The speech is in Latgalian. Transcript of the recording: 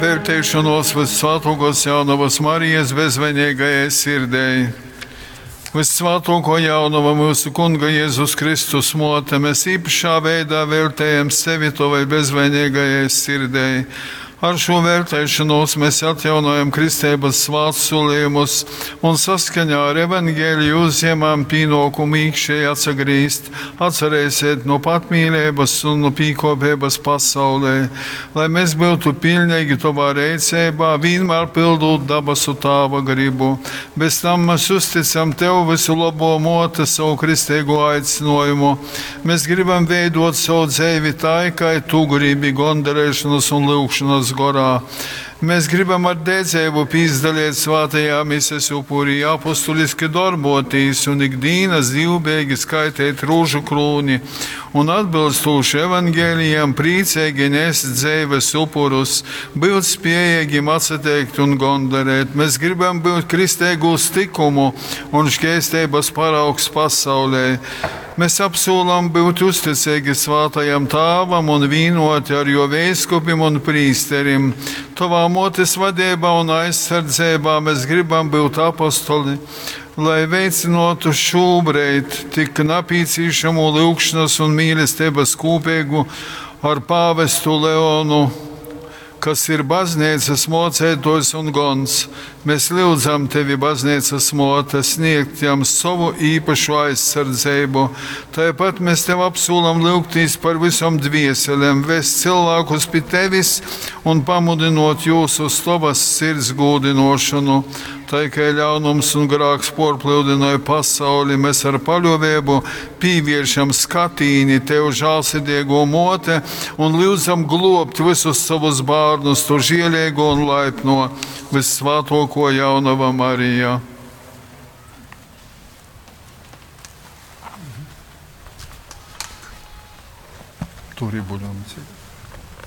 Veļteišonōs Vyssvātōkōs Jaunovas Marijas bezvaineigajai sirdei. Vyssvātōkō Jaunova, myusu Kunga Jezus Kristus mōte, mēs īpašā veidā veļtejam sevi Tovai bezvaineigajai sirdei. Ar šo velteišanos mēs atjaunojam kristeibas svātsolījumus un saskaņā ar evaņgeliju uzņemam pīnōkumu īkšēji atsagrīzt, atsareisēt nu patmīleibas un nu pīkōpeibas pasaulē, lai mēs byutu piļneigi Tovā reiceibā, vīnmār pildūt dabasu Tāva gribu. Bez tam mēs uzticam Tev visu labo mōte savu kristeigū aicinājumu. Mēs gribam veidot savu dzeivi tā, kā Tu gribi gondarēšanas un lūgšanas gorā. Mēs gribam ar dedzēbu pīzdaliet svātajā mises upurī, apostuliski darbotīs un ikdienas divbēgi skaitēt rūžu krūni un atbilstoši evangelijam priecīgi nest dzeives upurus, būt spējīgiem atsateikt un gondarēt. Mēs gribam būt kristēgūs tikumu un šķēstības paraugs pasaulē. Mēs apsolam būt uzticīgi svātajam tāvam un vīnoti ar jo veiskupim un prīsterim. Tavā motes vadībā un aizsardzībā mēs gribam būt apostoli, lai veicinātu šobrīd tik napīcīšamu lūgšanas un mīlestības kūpīgu ar pāvestu Leonu, kas ir baznīcas mocētājs un gons. Mēs lūdzam tevi, baznīcas mote, sniegt jam savu īpašu aizsardzību. Tāpat mēs tev apsolam lūgtīs par visam dvieselēm, vest cilvēkus pie tevis un pamudinot jūs uz tavas sirds gūdinošanu. Tā kā ļaunums un grāks porplūdināja pasauli, mēs ar paļāvību pievēršam skatīni tev žālsirdīgo mote un lūdzam globt visus savus bērnus, tu žielīgo un laipno vissvātoko jaunava Marija. Turi buļam.